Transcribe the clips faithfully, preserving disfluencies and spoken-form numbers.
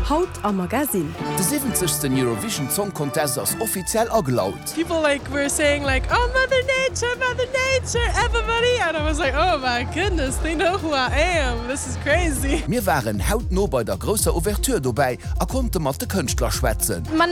Haut am Magazin. De siwwenzegsten Eurovision Song Contest ass offiziell agelaut. People like were saying like, oh Mother Nature, Mother Nature, everybody, and I was like, oh my goodness, they know who I am, this is crazy. Mir waren hautno bei der grousser Ouverture dobäi a konnte mat de Kënschtler schwätzen. Man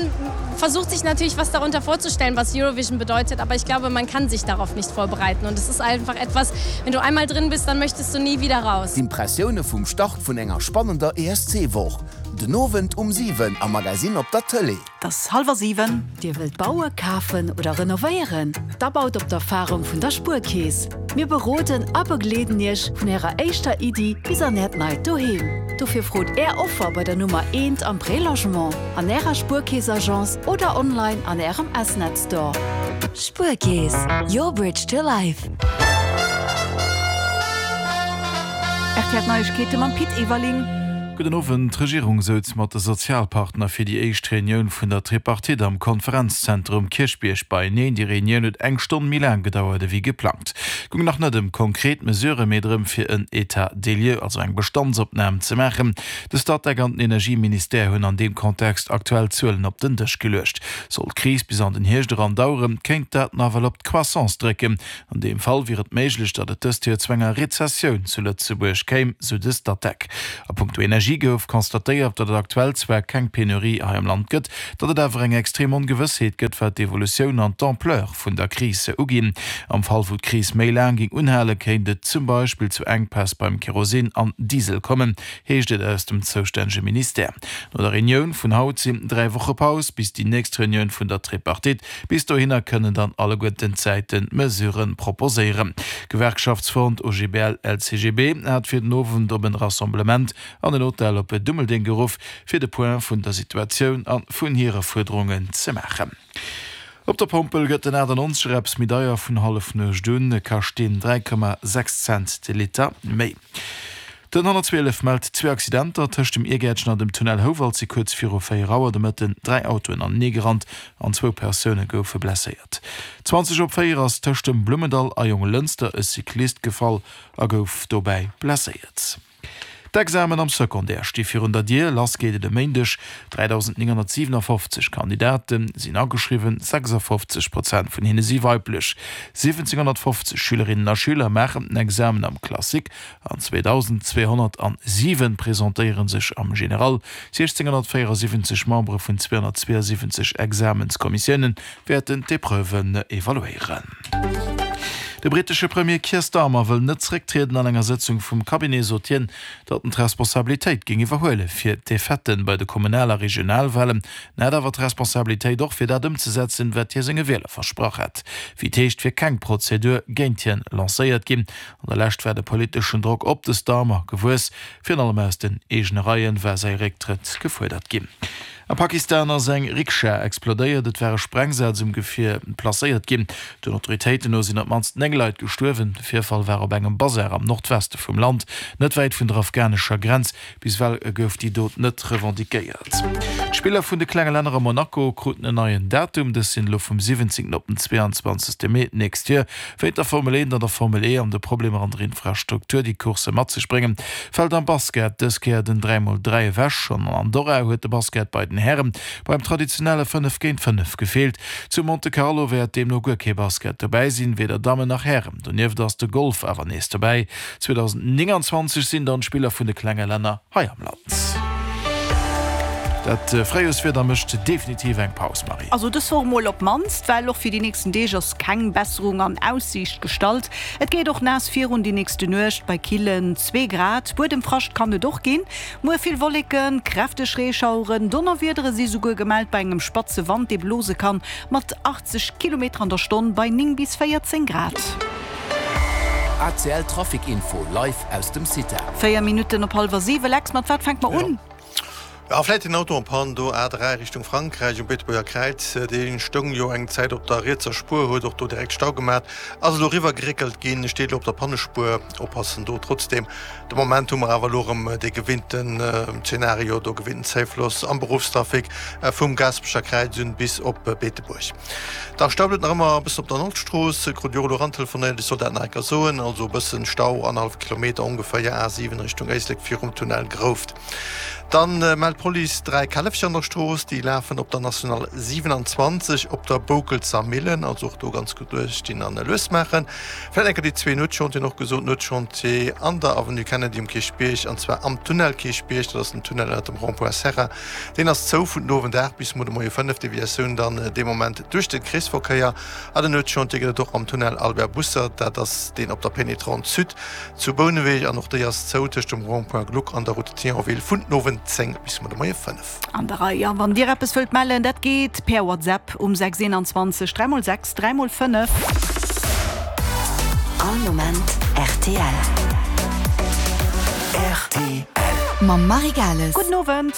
versucht sich natürlich was darunter vorzustellen, was Eurovision bedeutet, aber ich glaube, man kann sich darauf nicht vorbereiten und es ist einfach etwas, wenn du einmal drin bist, dann möchtest du nie wieder raus. D'Impressioune vum Start vun enger spannender E S C-Woch. Den Owend um siwen am Magazin op der Tëlee. Et ass hallwer siwen. Dir wëllt bauen, kafen oder renovéieren? Da baut op d'Erfarung vun der Spuerkeess. Mir beroden a begleeden Iech vun Ärer éischter Iddi bis an Äert neit Doheem. Dofir frot Är Offer bei der Nummer eent am Prélogement, an Ärer Spuerkeess-Agence oder online an Ärem S-Net Store. Spuerkeess, your bridge to life. R T L Neiegkeete mam Pit Everling. Gudden Owend. D'Regierung souz mat de Sozialpartner fir déi éischt Reunioun vun der Tripartite am Konferenzzentrum Kierchbierg beieneen. Déi Reunioun huet eng Stonn méi laang gedauert ewéi geplangt. Goung nach net ëm konkret Mesurë, mee drëm fir en État des lieux, also eng Bestandsopnam ze maachen. De Statec an den Energieministère hunn an deem Kontext aktuell Zuelen op den Dësch geluecht. Soll d'Kris bis an den Hierscht eran daueren, kéint dat nawell op d'Croissance drécken. An deem Fall wier et méiglech, datt et dëst Joer zu enger Rezessioun zu Lëtzebuerg kéim, sou de Statec. A punkto Energie gouf constatéiert, datt et aktuell zwar keng Penurie hei am Land gëtt, datt et awer eng extrem Ongewëssheet gëtt, wat d'Evolutioun an d'Ampleur vun der Kris uginn. Am Fall wou d'Kris méi laang géing unhale, kéint et zum Beispill zu Enkpäss beim Kerosin an Diesel kommen, heescht et aus dem zoustännege Ministère. No der Reunioun vun haut sinn dräi Woche Paus bis déi nächst Reunioun vun der Tripartite. Bis dohinner kënnen dann alleguerten d'Säiten Mesurë proposéieren. Gewerkschaftsfront O G B L L C G B hat fir den Owend op en Rassemblement an en Hotel op Dummeldeng geruff, fir de Point vun der Situatioun an vun hire Fuerderungen ze maachen. Op der Pompel gëtt den achtundneunzeg Eps méi deier vun Hallefnuecht un, kascht deen dräi Komma sechs Cent de Liter méi. Den honnertzwielef mellt zwee Accidenter tëscht dem Iergäertchen an dem Tunnel Houwald si kuerz viru véier Auer de Mëtten dräi Autoen anenee gerannt an zwou Persoune goufe blesséiert. zwanzeg op véier ass tëscht dem Blummendall a Jonglënster e Cyclist gefall a gouf dobäi blesséiert. D'Examen am Secondaire sti virun der Dier, lass geet et e Méindeg. dräidausendnénghonnertsiewenundfofzeg Kandidate sinn ageschriwwen, sechsundfofzeg Prozent vun hinne si weiblech. siwwenzehnhonnertfofzeg Schülerinnen a Schüler maachen den Examen am Classique an zweitausendzweihundertsiwen presentéiere sech am General. sechzehnhundertvierundsiebzig Membere vun zweihundertzweiundsiebzig Examenskommissiounen wäerten d'Epreuven evaluéieren. De brittesche Premier Keir Starmer wëll net zrécktrieden an enger Sëtzung vum Cabinet, sot hien, datt en d'Responsabilitéit géing iwwerhuele fir d'Defaitë bei de Kommunal- a Regionalwahlen, net awer d'Responsabilitéit och fir dat ëmzesetzen, wat hie senge Wieler versprach hat. Wéi d'heescht wier keng Prozedur géint hien lancéiert ginn. An der Lescht war de politeschen Drock op de Starmer gewuess, virun allem aus den eegene Reien war säi Récktrëtt gefuerdert ginn. Am Pakistan ass eng Rikscha explodéiert, et ware Sprengsätz um Gefier placéiert ginn. Den Autoritéiten no sinn op d'mannst néng Leit gestuerwen. De Virfall war op engem Bazar am Nordweste vum Land, net wäit vun der afghanescher Grenz. Bis ewell gouf déi Dot net revendiquéiert. D'Spiller vun de klenge Länner a Monaco kruten en neien Datum. Dës sinn elo vum siwwenzéngten op den zweiundzwanzegste Mee d'nächst Joer. Wéint der Formel eent an der Formel E an de Problemer an der Infrastruktur, déi Course mat sech bréngen, fält am Basket dës Kéier den dräi mol dräi ewech. Schonn an Andorra huet de Basket bei den Herren beim traditionelle fënnef géint fënnef gefeelt. Zu Monte Carlo wäert deemno guer kee Basket dobäi sinn, weder Dammen nach Herren. Donieft ass de Golf awer nees dobäi. zweitausendneunundzwanzeg sinn dann d'Spiller vun de klenge Länner hei am Land. Dat Fréijoerswieder mécht definitiv eng Paus, Marie. Also dës Woch mol op d'mannst, well och fir déi nächsten Deeg ass keng Besserung an Aussiicht gestallt. Et geet och naass virun déi nächste Nuecht bei killen zwee Grad. Buedemfrascht kann et och ginn. Muer vill Wolleken, kräfteg Reeschaueren, Donnerwiedere si souguer gemellt bei engem spatze Wand, dee blose kann mat achtzeg Kilometer an der Stonn bei néng bis véierzéng Grad. A C L Trafic Info live aus dem CITA. Véier Minutten op hallwer siwe. Lex, mat wat fänkt mer un? Ja, vläicht den Auto en panne do A dräi Richtung Frankräich um Beetebuerger Kräiz. Dee stoung jo eng Zäit op der rietser Spuer, huet och do direkt Stau gemaat, ass elo eriwwer geréckelt ginn, steet elo op der Pannespuer. Oppassen do trotzdem. De Moment hu mer awer elo erëm dee gewinnten Zenario, do gewinnten Zäifloss am Beruffstrafic vum Gaasperecher Kräiz un bis op Beetebuerg. Da staut et nach ëmmer e bëssen op der Nordstrooss. Krut jo elo erantelefonéiert, ech soll dat nach eng Kéier soen. Also e bëssen Stau, annerhallef Kilometer ongeféier A siwen Richtung Éislek virum Tunnel Grouft. Dann mellt d'Police dräi Källefcher an der Strooss, déi lafen op der National siewenundzwanzeg op der Boukelzer Millen, also och do ganz gutt uecht ginn an lues maachen. Vläit eng Kéier déi zwee Nuetschantieren och gesot, Nuetschantier an der Avenue Kennedy um Kierchbierg an zwar am Tunnel Kierchbierg, dat ass den Tunnel ënnert dem Rond-point Serra, deen ass zou vun den Owend aacht bis muer de Moie fënnef, Deviatioun dann dee Moment duerch de Kreesverkéier. An en Nuetschantier gëtt et och am Tunnel Albert Bussert, dat ass deen op der Pénétrante Sud zu Bouneweg an och déi ass zou tëscht dem Rond-point Gluck an der Route de Thionville vun den Owend zéng bis muer de Moie fënnef. An der Rei. A wann Dir eppes wëllt mellen, dat geet per WhatsApp um sechs eenanzwanzeg dräi mol sechs dräi mol fënnef. All Moment rtl. Rtl. Mam Marie Gales. Gudden Owend.